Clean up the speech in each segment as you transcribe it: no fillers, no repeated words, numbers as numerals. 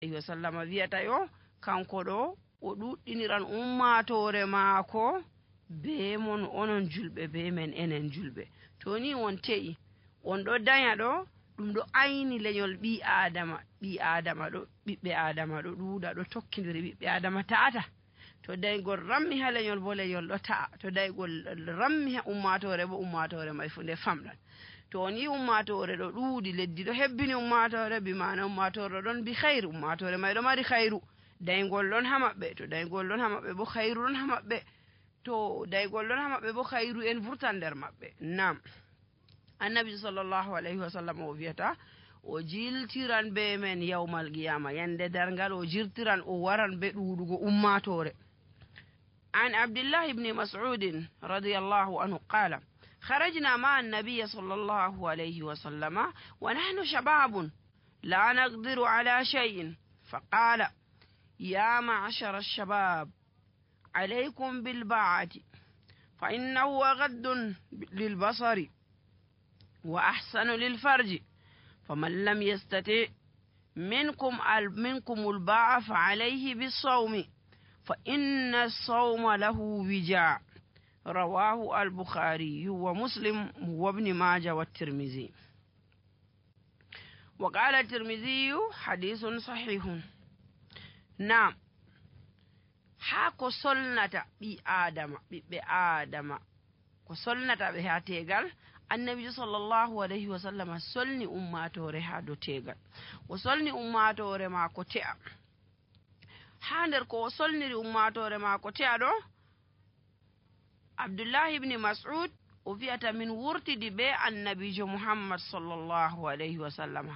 alaihi wasallam wi'ata yo kanko ɗo o ɗuɗɗiniran ummatore maako be mon onon julɓe be men enen julɓe. To ni on te'i on ɗo danya ɗo ɗum ɗo ayni lenyol ɓi adama ɗo ɓiɓɓe adama ɗo ɗuuɗa ɗo tokkidiri ɓiɓɓe adama ta'ata. To daygol rammi ha lenyol bo lenyol ɗo ta'a. To daygol rammi ha ummatore bo ummatore mai fu nde famɗan. To on yi ummatore ɗo ɗuuɗi leddi ɗo hebbini ummatore bi mana ummatore ɗon bi khairu ummatore mai ɗo mari khairu daygol ɗon ha maɓɓe. To daygol ɗon ha maɓɓe bo khairu ɗon ha maɓɓe. To daygol ɗon ha maɓɓe bo khairu en vurtan nder maɓɓe. Nam annabi sallallahu alaihi wasallam o wiyata o jiltiran be men yawmal qiyama yande dargal o jirtiran o waran be ɗuɗugo ummatore. عن عبد الله بن مسعود رضي الله عنه قال خرجنا مع النبي صلى الله عليه وسلم ونحن شباب لا نقدر على شيء فقال يا معشر الشباب عليكم بالباعة فإنه أغض للبصر وأحسن للفرج فمن لم يستطع منكم الباعة فعليه بالصوم فإن الصوم له وجاء رواه البخاري ومسلم وابن ماجه والترمذي. وقال الترمذي حديث صحيح. نعم hako solnata ɓiɓɓe adama ko solnata ɓe ha tegal annabijo sallallahu alayhi wa sallam solni ummatore ha do tegal o solni ummatore ma ko te'a ha nder ko o solniri ummatore ma ko te'a ɗo Abdullahi ibn Mas'ud o wi'ata min wurtidi be annabijo Muhammad sallallahu alayhi wa sallam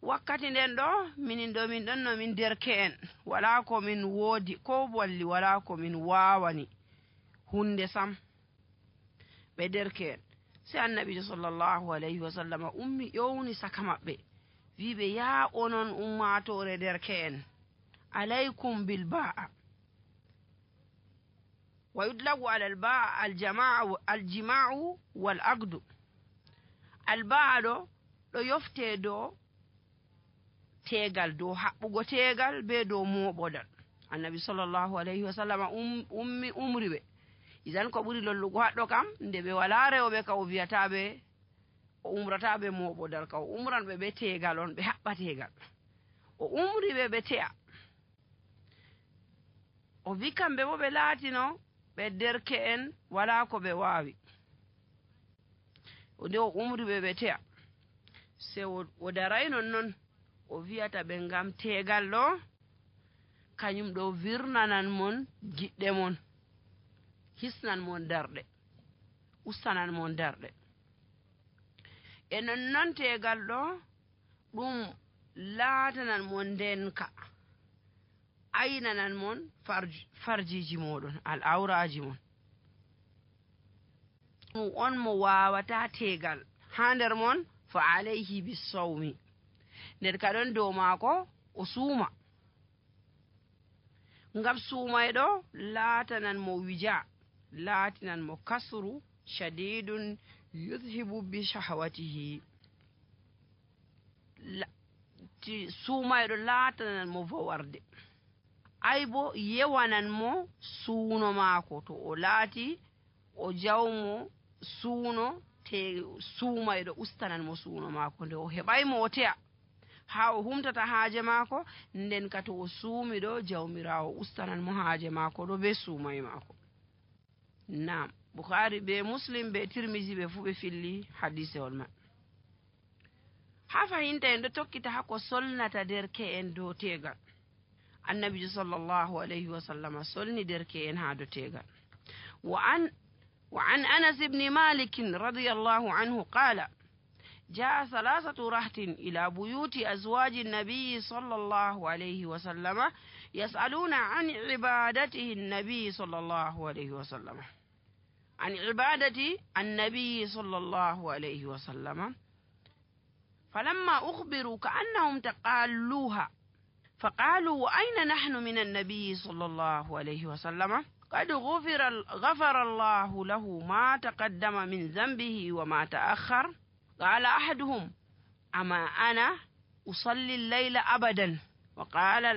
wakkati nden ɗo min ɗon no min derke'en wala ko min woodi ko walli wala ko min wawani hunde sam ɓe derke'en sai annabijo sallallahu alayhi wa sallam ummi ƴowni saka maɓɓe wiɓe ya onon ummatore derke'en alaykum bil ba'a wa yudlagu ala al ba'a al jima'u wal aqdu al ba'a ɗo yofte do tegal dow haɓɓugo tegal be dow moɓodal annabi sallallahu alayhi wa sallam umri ɓe idan ko ɓuri lollugo haɗɗo kam nde ɓe wala rewɓe ka o wiyataɓe o umrataɓe moɓodal ka o umran ɓe tegal on ɓe haɓɓa tegal o umri ɓe te'a o wi kamɓe bo ɓe laatino ɓe derke'en wala ko ɓe wawi nde o umri ɓe te'a se o daray non o wiyata ɓe ngam tegal ɗo kañum ɗo virnanan mon giɗɗe mon hisnan mon darɗe ustanan mon darɗe e nonnon tegal ɗo ɗum laatanan mon ndenka aynanan mon farjiji moɗon al awraji mon ɗum on mo wawata tegal ha nder mon fa alayhi bisawmi nder ka ɗon dow maako o suuma ngam suumayɗo laatanan mo wija laatinan mo kasru shadidun yudhibu bi shahwatihi suumayɗo laatanan mo vowarde ay bo yewanan mo suuno maako to o laati o jawmo suuno te suumayɗo ustanan mo suuno maako nde o heɓaymo o te'a ha o humtata haaje maako nden ka to o suumi ɗo jawmirawo ustanan mo haaje maako ɗo be suumay maako. Nam Bukhari be Muslim be Tirmizi ɓe fu ɓe filli hadisewol man. Ha fahinta en ɗo tokkita hako solnata derke'en dow tegal annabijo sallallahu alayhi wa sallam solni derke'en ha dow tegal وعن أنس بن مالك رضي الله عنه قال جاء 3 رهط إلى بيوت أزواج النبي صلى الله عليه وسلم يسألون عن عبادته النبي صلى الله عليه وسلم عن عبادة النبي صلى الله عليه وسلم فلما أخبروا كأنهم تقالوها فقالوا وأين نحن من النبي صلى الله عليه وسلم قد غفر الله له ما تقدم من ذنبه وما تأخر قال أحدهم أما أنا أصلي الليل أبدا wa qala